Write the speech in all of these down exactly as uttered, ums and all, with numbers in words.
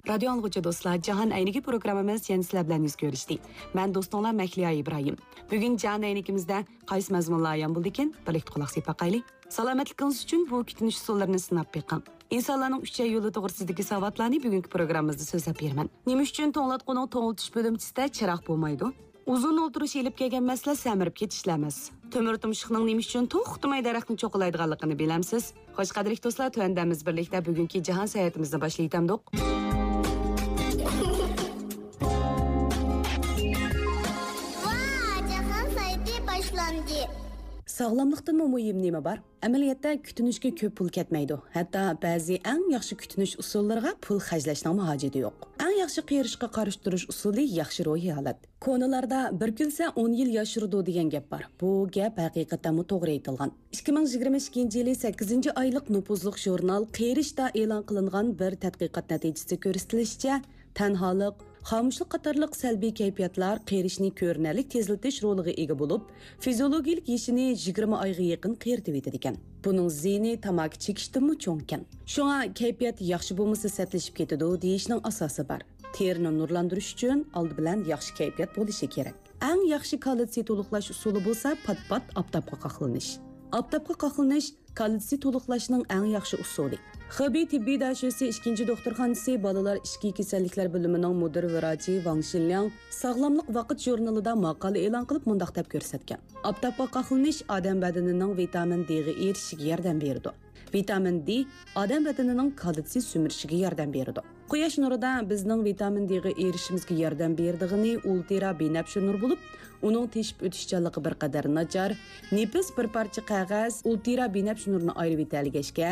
رادىيو ئاڭلىغۇچى دوستلار، جاھان ئەينىكى پروگراممىمىز يەنە سىلەر بىلەن يۈز كۆرۈشتى. مەن دوستۇڭلار مەھلىيا ئىبراھىم. بۈگۈن جاھان ئەينىكىمىزدە قايسى مەزمۇنلار ئايان بولدىكىن؟ بىرلىكتە قۇلاق سېلىپ باقايلى. سالامەتلىكىڭىز ئۈچۈن بۇ كۈتۈنۈش ئۇسۇللىرىنى سىناپ بېقىڭ. ئىنسانلارنىڭ ئۈچەي يولى توغرىسىدىكى ساۋاتلارنى بۈگۈنكى پروگراممىمىزدا سۆزلەپ بېرىمەن. نېمە ئۈچۈن توڭلاتقۇنىڭ توڭلىتىش بۆلۈمچىسىدە چىراغ بولمايدۇ؟ ئۇزۇن ئولتۇرۇش ئېلىپ كەلگەن مەسىلە سەمرىپ كېتىشلا ئەمەس. تۆمۈر تۇمشۇقنىڭ نېمە ئۈچۈن توختىماي دەرەخنى چوقۇلايدىغانلىقىنى بىلەمسىز؟ خوش، قەدىرلىك دوستلار، تۆۋەندە بىز بىرلىكتە بۈگۈنكى جاھان ساياھىتىمىزنى باشلىۋېتەمدۇق. ۋا، جاھان ساياھىتى باشلاندى. ساغلاملىقتىنمۇ مۇھىم نېمە بار؟ ئەمەلىيەتتە كۈتۈنۈشكە كۆپ پۇل كەتمەيدۇ. ھەتتا بەزى ئەڭ ياخشى كۈتۈنۈش ئۇسۇللىرىغا پۇل خەجلەشنىڭمۇ ھاجىتى يوق. ئەڭ ياخشى قېرىشقا قارشى تۇرۇش ئۇسۇلى ياخشى روھىي ھالەت. كونىلاردا «بىر كۈلسە، ئون يىل ياشىرىدۇ» دېگەن گەپ بار. بۇ گەپ ھەقىقەتەنمۇ توغرا ئېيتىلغان. ئىككى مىڭ يىگىرمە ئىككىنچى يىلى سەككىزىنچى ئايلىق نوپۇزلۇق ژۇرنال قېرىشتا ئېلان قىلىنغان بىر تەتقىقات نەتىجىسىدە كۆرسىتىلىشىچە، تەنھالىق، خامۇشلۇق قاتارلىق سەلبىي كەيپىياتلار قېرىشنى كۆرۈنەرلىك تېزلىتىش رولىغا ئىگە بولۇپ، فىزىيولوگىيىلىك يېشىنى يىگىرمە ئايغا يېقىن قېرىتىۋېتىدىكەن. بۇنىڭ زىيىنى تاماكا چېكىشتىنمۇ چوڭكەن. شۇڭا كەيپىيات ياخشى بولمىسا سەتلىشىپ كېتىدۇ دېيىشنىڭ ئاساسى بار. تېرىنى نۇرلاندۇرۇش ئۈچۈن ئالدى بىلەن ياخشى كەيپىيات بولۇشى كېرەك. ئەڭ ياخشى كالتسىي تولۇقلاش ئۇسۇلى بولسا پات-پات ئاپتاپقا قاقلىنىش. ئاپتاپقا قاقلىنىش كالتسىي تولۇقلاشنىڭ ئەڭ ياخشى ئۇسۇلى. خېبېي تېببىي داشۆسى ئىككىنچى دوختۇرخانىسى بالىلار ئىچكى كېسەللىكلەر بۆلۈمىنىڭ مۇدىر ۋراچى ۋاڭ شىنلياڭ ساغلاملىق ۋاقىت ژۇرنىلىدا ماقالە ئېلان قىلىپ مۇنداق دەپ كۆرسەتكەن: ئاپتاپقا قاقلىنىش ئادەم بەدىنىنىڭ ۋىتامىن دېغا ئېرىشىشىگە ياردەم بېرىدۇ. ۋىتامىن دې ئادەم بەدىنىنىڭ كالتسىي سۈمۈرۈشىگە ياردەم بېرىدۇ. قۇياش نۇرىدا بىزنىڭ ۋىتامىن دېغا ئېرىشىشىمىزگە ياردەم بېرىدىغىنى ئۇلترا بىنەپشە نۇر بولۇپ، ئۇنىڭ تېشىپ ئۆتۈشچانلىقى بىر قەدەر ناچار. نېپىز بىر پارچە قەغەز ئۇلترا بىنەپشە نۇرنى ئايرىۋېتەلىگەچكە،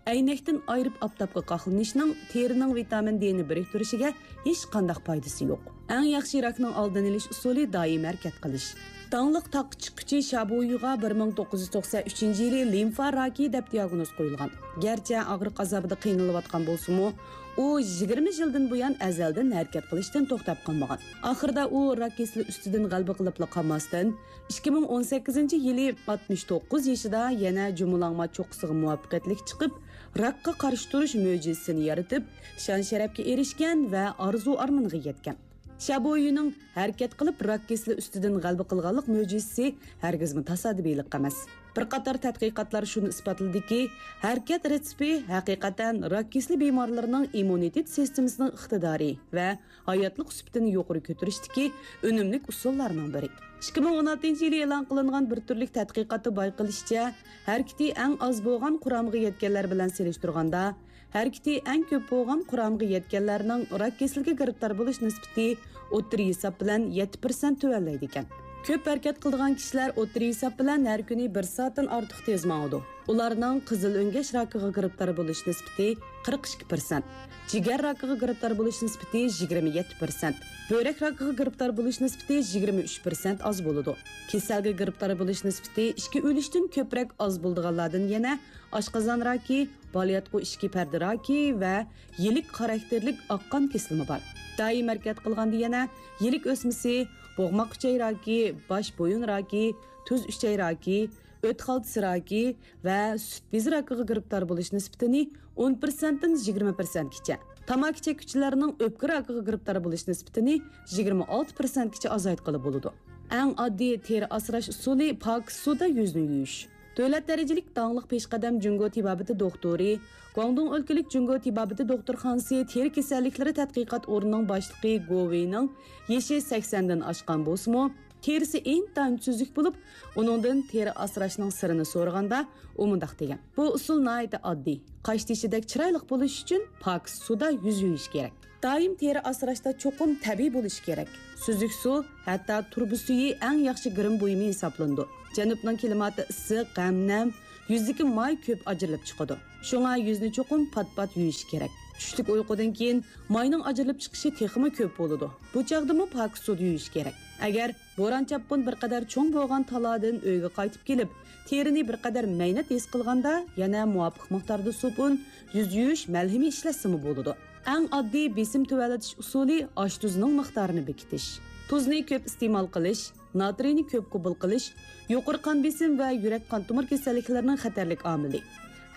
ئەينەكتىن ئايرىپ ئاپتاپقا قاقلىنىشنىڭ تېرىنىڭ ۋىتامىن دېنى بىرىكتۈرۈشىگە ھېچقانداق پايدىسى يوق. ئەڭ ياخشى راكنىڭ ئالدىنى ئېلىش ئۇسۇلى دايىم ھەرىكەت قىلىش. داڭلىق تاغقا چىققۇچى شابۇيۈغا بىر مىڭ توققۇز يۈز توقسەن ئۈچىنچى يىلى لىمفا راكى دەپ دىياگنوز قويۇلغان. گەرچە ئاغرىق ئازابىدا قىينىلىۋاتقان بولسىمۇ، ئۇ يىگىرمە يىلدىن بۇيان ئەزەلدىن ھەرىكەت قىلىشتىن توختاپ قالمىغان. ئاخىرىدا ئۇ راك كېسىلى ئۈستىدىن غەلىبە قىلىپلا قالماستىن، ئىككى مىڭ ئون سەككىزىنچى يىلى ئاتمىش توققۇز يېشىدا يەنە جۇمۇلاڭما چوققىسىغا مۇۋەپپەقىيەتلىك چىقىپ، راكقا قارشى تۇرۇش مۆجىزىسىنى يارىتىپ، شان-شەرەپكە ئېرىشكەن ۋە ئارزۇ-ئارمىنىغا يەتكەن. شابويىنىڭ ھەرىكەت قىلىپ راك كېسىلى ئۈستىدىن غەلىبە قىلغانلىق مۆجىزىسى ھەرگىزمۇ تاسادىپىيلىق ئەمەس. بىر قاتار تەتقىقاتلار شۇنى ئىسپاتلىدىكى، ھەرىكەت رېتسېپى ھەقىقەتەن راك كېسىلى بىمارلىرىنىڭ ئىممۇنىتېت سىستېمىسىنىڭ ئىقتىدارى ۋە ھاياتلىق سۈپىتىنى يۇقىرى كۆتۈرۈشتىكى ئۈنۈملۈك ئۇسۇللارنىڭ بىرى. ئىككى مىڭ ئون ئالتىنچى يىلى ئېلان قىلىنغان بىر تۈرلۈك تەتقىقاتتا بايقىلىشىچە، ھەرىكىتى ئەڭ ئاز بولغان قۇرامىغا يەتكەنلەر بىلەن سېلىشتۇرغاندا، ھەرىكىتى ئەڭ كۆپ بولغان قۇرامىغا يەتكەنلەرنىڭ راك كېسىلىگە گىرىپتار بولۇش نىسبىتى ئوتتۇرا ھېساب بىلەن يەتتە پىرسەنت تۆۋەنلەيدىكەن. كۆپ ھەرىكەت قىلىدىغان كىشىلەر ئوتتۇرا ھېساب بىلەن ھەر كۈنى بىر سائەتتىن ئارتۇق تېز ماڭىدۇ. ئۇلارنىڭ قىزىل ئۆڭگەش راكىغا گىرىپتار بولۇش نىسبىتى قىرىق ئىككى پىرسەنت، جىگەر راكىغا گىرىپتار بولۇش نىسبىتى يىگىرمە يەتتە پىرسەنت، بۆرەك راكىغا گىرىپتار بولۇش نىسبىتى يىگىرمە ئۈچ پىرسەنت ئاز بولىدۇ. كېسەلگە گىرىپتار بولۇش نىسبىتى ئىككى ئۈلۈشتىن كۆپرەك ئاز بولىدىغانلاردىن يەنە ئاشقازان راكى، بالىياتقۇ ئىچكى پەردە راكى ۋە يىلىك خاراكتېرلىك ئاق قان كېسىلىمۇ بار. دائىم ھەرىكەت قىلغاندا يەنە يىلىك ئۆسمىسى، بوغماق ئۈچەي راكى، باش بويۇن راكى، تۇز ئۈچەي راكى، ئۆت خالتىسى راكى ۋە سۈت بېزى راكىغا گىرىپتار بولۇش نىسبىتىنى ئون پىرسەنتتىن يىگىرمە پىرسەنتكىچە، تاماكا چەككۈچىلەرنىڭ ئۆپكە راكىغا گىرىپتار بولۇش نىسبىتىنى يىگىرمە ئالتە پىرسەنتكىچە ئازايتقىلى بولىدۇ. ئەڭ ئاددىي تېرە ئاسراش ئۇسۇلى پاكىز سۇدا يۈزنى يۇيۇش. دۆلەت دەرىجىلىك داڭلىق پېشقەدەم جۇڭگو تېبابىتى دوختۇرى، گۇاڭدۇڭ ئۆلكىلىك جۇڭگو تېبابىتى دوختۇرخانىسى تېرە كېسەللىكلىرى تەتقىقات ئورنىنىڭ باشلىقى گو ۋېينىڭ يېشى سەكسەندىن ئاشقان بولسىمۇ، تېرىسى ئىنتايىن سۈزۈك بولۇپ، ئۇنىڭدىن تېرە ئاسراشنىڭ سىرىنى سورىغاندا، ئۇ مۇنداق دېگەن: «بۇ ئۇسۇل ناھايىتى ئاددىي. قاش تېشىدەك چىرايلىق بولۇش ئۈچۈن پاكىز سۇدا يۈز يۇيۇش كېرەك.» دائىم تېرە ئاسراشتا چوقۇم تەبىئىي بولۇش كېرەك. سۈزۈك سۇ، ھەتتا تۇرۇبا سۈيى ئەڭ ياخشى گىرىم بۇيۇمى ھېسابلىنىدۇ. جەنۇبنىڭ كىلىماتى ئىسسىق ھەم نەم، يۈزدىكى ماي كۆپ ئاجرىلىپ چىقىدۇ. شۇڭا يۈزنى چوقۇم پات-پات يۇيۇش كېرەك. چۈشلۈك ئۇيقۇدىن كېيىن ماينىڭ ئاجرىلىپ چىقىشى تېخىمۇ كۆپ بولىدۇ. بۇ چاغدىمۇ پاكىز سۇدا يۇيۇش كېرەك. ئەگەر بوران-چاپقۇن بىر قەدەر چوڭ بولغان تالادىن ئۆيگە قايتىپ كېلىپ، تېرىنى بىر قەدەر مەينەت ھېس قىلغاندا، يەنە مۇۋاپىق مىقداردا سوپۇن، يۈز يۇيۇش مەلھىمى ئىشلەتسىمۇ بولىدۇ. ئەڭ ئاددىي بېسىم تۆۋەنلىتىش ئۇسۇلى ئاش-تۇزنىڭ مىقدارىنى بېكىتىش. تۇزنى كۆپ ئىستېمال قىلىش، ناترىينى كۆپ قوبۇل قىلىش يۇقىرى قان بېسىم ۋە يۈرەك قان تومۇر كېسەللىكلىرىنىڭ خەتەرلىك ئامىلى.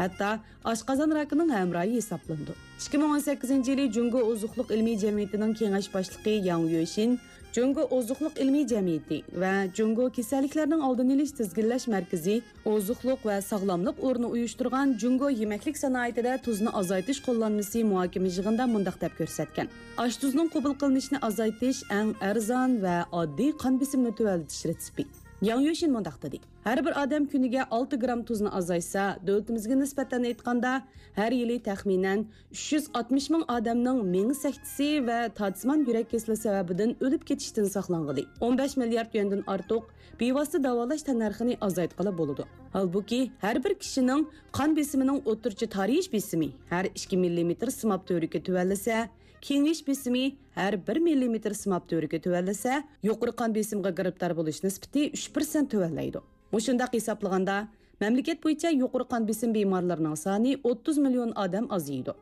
ھەتتا ئاشقازان راكىنىڭ ھەمراھى ھېسابلىنىدۇ. ئىككى مىڭ ئون سەككىزىنچى يىلى جۇڭگو ئوزۇقلۇق ئىلمىي جەمئىيىتىنىڭ كېڭەش باشلىقى ياڭ يۈشىن جۇڭگو ئوزۇقلۇق ئىلمىي جەمئىيىتى ۋە جۇڭگو كېسەللىكلەرنىڭ ئالدىنى ئېلىش تىزگىنلەش مەركىزى ئوزۇقلۇق ۋە ساغلاملىق ئورنى ئۇيۇشتۇرغان جۇڭگو يېمەكلىك سانائىتىدە تۇزنى ئازايتىش قوللانمىسى مۇھاكىمە يىغىنىدا مۇنداق دەپ كۆرسەتكەن: ئاشتۇزنىڭ قوبۇل قىلىنىشىنى ئازايتىش ئەڭ ئەرزان ۋە ئاددىي قان بېسىمىنى تۆۋەنلىتىش رېتسېپى. ياڭ يۈشىن مۇنداق دېدى: ھەر بىر ئادەم كۈنىگە ئالتە گرام تۇزنى ئازايتسا، دۆلىتىمىزگە نىسبەتەن ئېيتقاندا، ھەر يىلى تەخمىنەن ئۈچ يۈز ئاتمىش مىڭ ئادەمنىڭ مېڭە سەكتىسى ۋە تارتىسىمان يۈرەك كېسىلى سەۋەبىدىن ئۆلۈپ كېتىشتىن ساقلانغىلى. ئون بەش مىليارد يۈەندىن ئارتۇق بىۋاسىتە داۋالاش تەننەرخىنى ئازايتقىلى بولىدۇ. ھالبۇكى، ھەر بىر كىشىنىڭ قان بېسىمىنىڭ ئوتتۇرىچە تارىيىش بېسىمى ھەر ئىككى مىللىمېتىر سىماب تۈۋرۈكى تۆۋەنلىسە، كېڭىيىش بېسىمى ھەر بىر مىللىمېتىر سىماب تۈۋرۈكى تۆۋەنلىسە، يۇقىرى قان بېسىمىغا گىرىپتار بولۇش نىسبىتى ئۈچ پىرسەنت تۆۋەنلەيدۇ. مۇشۇنداق ھېسابلىغاندا، مەملىكەت بويىچە يۇقىرى قان بېسىم بىمارلىرىنىڭ سانى ئوتتۇز مىليون ئادەم ئازىيىدۇ.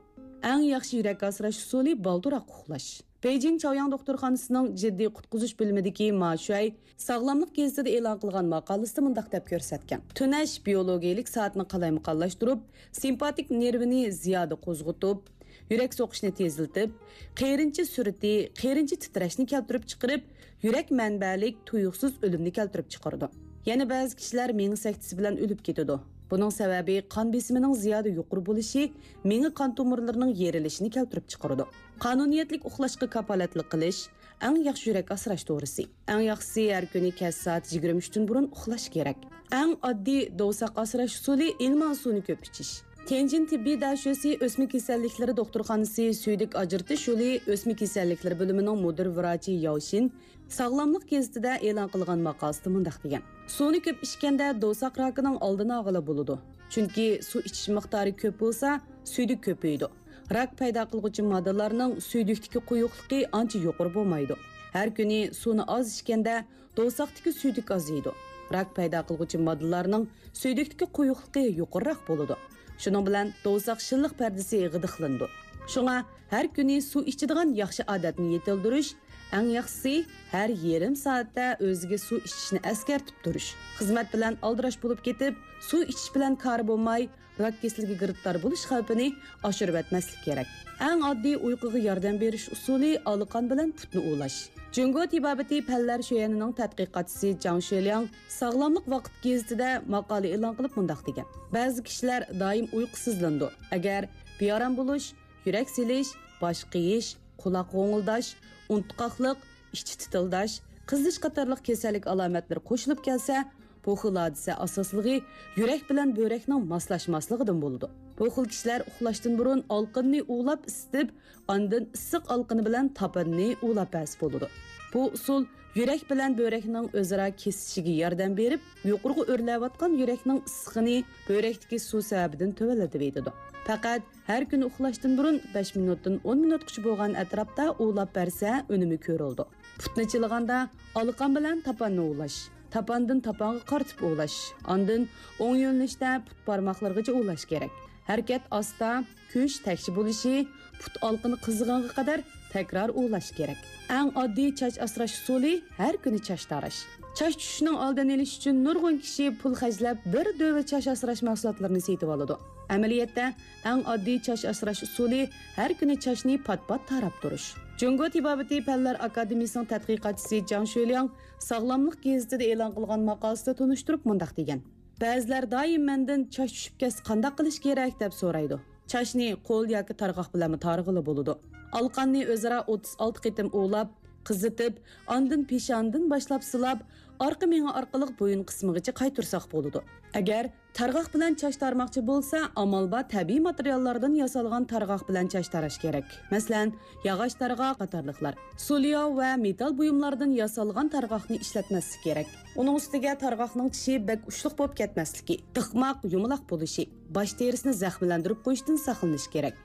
ئەڭ ياخشى يۈرەك ئاسراش ئۇسۇلى بالدۇرراق ئۇخلاش. بېيجىڭ چاۋياڭ دوختۇرخانىسىنىڭ جىددىي قۇتقۇزۇش بۆلۈمىدىكى ما شۈەي ساغلاملىق گېزىتىدە ئېلان قىلغان ماقالىسىدە مۇنداق دەپ كۆرسەتكەن: تۈنەش بىيولوگىيىلىك سائەتنى قالايمىقانلاشتۇرۇپ، سىمپاتىك نېرۋىنى زىيادە قوزغىتىپ، يۈرەك سوقۇشنى تېزلىتىپ، قېرىنچە سۈرئىتى، قېرىنچە تىترەشنى كەلتۈرۈپ چىقىرىپ، يۈرەك مەنبەلىك تۇيۇقسىز ئۆلۈمنى كەلتۈرۈپ چىقىرىدۇ. يەنە بەزى كىشىلەر مېڭە سەكتىسى بىلەن ئۆلۈپ كېتىدۇ. بۇنىڭ سەۋەبى قان بېسىمىنىڭ زىيادە يۇقىرى بولۇشى مېڭە قان تومۇرلىرىنىڭ يېرىلىشىنى كەلتۈرۈپ چىقىرىدۇ. قانۇنىيەتلىك ئۇخلاشقا كاپالەتلىك قىلىش ئەڭ ياخشى يۈرەك ئاسراش دورىسى. ئەڭ ياخشىسى ھەر كۈنى كەچ سائەت يىگىرمە ئۈچتىن بۇرۇن ئۇخلاش كېرەك. ئەڭ ئاددىي دوۋساق ئاسراش ئۇسۇلى ئىلمان سۇنى كۆپ ئىچىش. تيەنجىن تېببىي دەشۆسى ئۆسمە كېسەللىكلىرى دوختۇرخانىسى سۈيدۈك ئاجرىتىش يولى ئۆسمە كېسەللىكلىرى بۆلۈمىنىڭ مۇدىر ۋراچى ياۋشىن ساغلاملىق گېزىتىدە ئېلان قىلغان ماقالىسىدە مۇنداق دېگەن: سۇنى كۆپ ئىچكەندە دوۋساق راكىنىڭ ئالدىنى ئالغىلى بولىدۇ. چۈنكى سۇ ئىچىش مىقدارى كۆپ بولسا، سۈيدۈك كۆپىيىدۇ. راك پەيدا قىلغۇچى ماددىلارنىڭ سۈيدۈكتىكى قويۇقلۇقى ئانچە يۇقىرى بولمايدۇ. ھەر كۈنى سۇنى ئاز ئىچكەندە، دوۋساقتىكى سۈيدۈك ئازىيىدۇ. راك پەيدا قىلغۇچى ماددىلارنىڭ سۈيدۈكتىكى قويۇقلۇقى يۇقىرىراق بولىدۇ. شۇنىڭ بىلەن دوۋساق شىللىق پەردىسى غىدىقلىنىدۇ. شۇڭا ھەر كۈنى سۇ ئىچىدىغان ياخشى ئادەتنى يېتىلدۈرۈش، ئەڭ ياخشىسى ھەر يېرىم سائەتتە ئۆزىگە سۇ ئىچىشنى ئەسكەرتىپ تۇرۇش. خىزمەت بىلەن ئالدىراش بولۇپ كېتىپ، سۇ ئىچىش بىلەن كارى بولماي، راك كېسىلىگە گىرىپتار بولۇش خەۋپىنى ئاشۇرۇۋەتمەسلىك كېرەك. ئەڭ ئاددىي ئۇيقۇغا ياردەم بېرىش ئۇسۇلى ئالىقان بىلەن پۇتنى ئۇۋۇلاش. جۇڭگو تېبابىتى پەنلەر شۆيەنىنىڭ تەتقىقاتچىسى جاڭ شۆلياڭ ساغلاملىق ۋاقىت گېزىتىدە ماقالە ئېلان قىلىپ مۇنداق دېگەن: بەزى كىشىلەر دائىم ئۇيقۇسىزلىنىدۇ. ئەگەر بىئارام بولۇش، يۈرەك سېلىش، باش قېيىش، قۇلاق غوڭۇلداش، ئۇنتقاقلىق، ئىچى تىتىلداش، قىزىش قاتارلىق كېسەللىك ئالامەتلىرى قوشۇلۇپ كەلسە، بۇ خىل ھادىسە ئاساسلىقى يۈرەك بىلەن بۆرەكنىڭ ماسلاشماسلىقىدىن بولىدۇ. بۇ خىل كىشىلەر ئۇخلاشتىن بۇرۇن ئالقىننى ئۇۋىلاپ ئىسسىتىپ، ئاندىن ئىسسىق ئالقىنى بىلەن تاپاننى ئۇۋىلاپ بەرسە بولىدۇ. بۇ ئۇسۇل يۈرەك بىلەن بۆرەكنىڭ ئۆزئارا كېسىشىگە ياردەم بېرىپ، يۇقىرىغا ئۆرلەۋاتقان يۈرەكنىڭ ئىسسىقىنى بۆرەكتىكى سۇ سەۋەبىدىن تۆۋەنلىتىۋېتىدۇ. پەقەت ھەر كۈنى ئۇخلاشتىن بۇرۇن بەش مىنۇتتىن ئون مىنۇتقىچە بولغان ئەتراپتا ئۇۋىلاپ بەرسە، ئۈنۈمى كۆرۈلىدۇ. پۇتنى چىلىغاندا ئالىقان بىلەن تاپاننى ئۇۋىلاش، تاپاندىن تاپانغا قارىتىپ ئۇۋىلاش، ئاندىن ئوڭ يۆنىلىشتە پۇت بارماقلىرىغىچە ئۇۋىلاش كېرەك. ھەرىكەت ئاستا، كۈچ تەكشى بولۇشى، پۇت ئالىقىنى قىزىغانغا قەدەر تەكرار ئۇۋىلاش كېرەك. ئەڭ ئاددىي چاچ ئاسراش ئۇسۇلى، ھەر كۈنى چاچ تاراش. چاچ چۈشۈشنىڭ ئالدىنى ئېلىش ئۈچۈن نۇرغۇن كىشى پۇل خەجلەپ، بىر دۆۋە چاچ ئاسراش مەھسۇلاتلىرىنى سېتىۋالىدۇ. ئەمەلىيەتتە، ئەڭ ئاددىي چاچ ئاسراش ئۇسۇلى، ھەر كۈنى چاچنى پات-پات تاراپ تۇرۇش. جۇڭگو تېبابىتى پەنلەر ئاكادېمىيىسىنىڭ تەتقىقاتچىسى جاڭ شۆلياڭ ساغلاملىق گېزىتىدە ئېلان قىلغان ماقالىسىدە تونۇشتۇرۇپ مۇنداق دېگەن: بەزىلەر دائىم مەندىن چاچ چۈشۈپ كەتسە قانداق قىلىش كېرەك دەپ سورايدۇ. چاچنى قول ياكى تارغاق بىلەنمۇ تارىغىلى بولىدۇ. ئالىقاننى ئۆزئارا ئوتتۇز ئالتە قېتىم ئۇۋىلاپ، قىزىتىپ، ئاندىن پېشانىدىن باشلاپ سىلاپ، ئارقا مېڭە ئارقىلىق بويۇن قىسمىغىچە قايتۇرساق بولىدۇ. ئەگەر تارغاق بىلەن چاچ تارماقچى بولسا، ئامال بار تەبىئىي ماتېرىياللاردىن ياسالغان تارغاق بىلەن چاچ تاراش كېرەك. مەسىلەن، ياغاچ تارغاق قاتارلىقلار. سۇلياۋ ۋە مېتال بۇيۇملاردىن ياسالغان تارغاقنى ئىشلەتمەسلىك كېرەك. ئۇنىڭ ئۈستىگە تارغاقنىڭ چىشى بەك ئۇچلۇق بولۇپ كەتمەسلىكى، تىقماق، يۇمىلاق بولۇشى، باش تېرىسىنى زەخىملەندۈرۈپ قويۇشتىن ساقلىنىش كېرەك.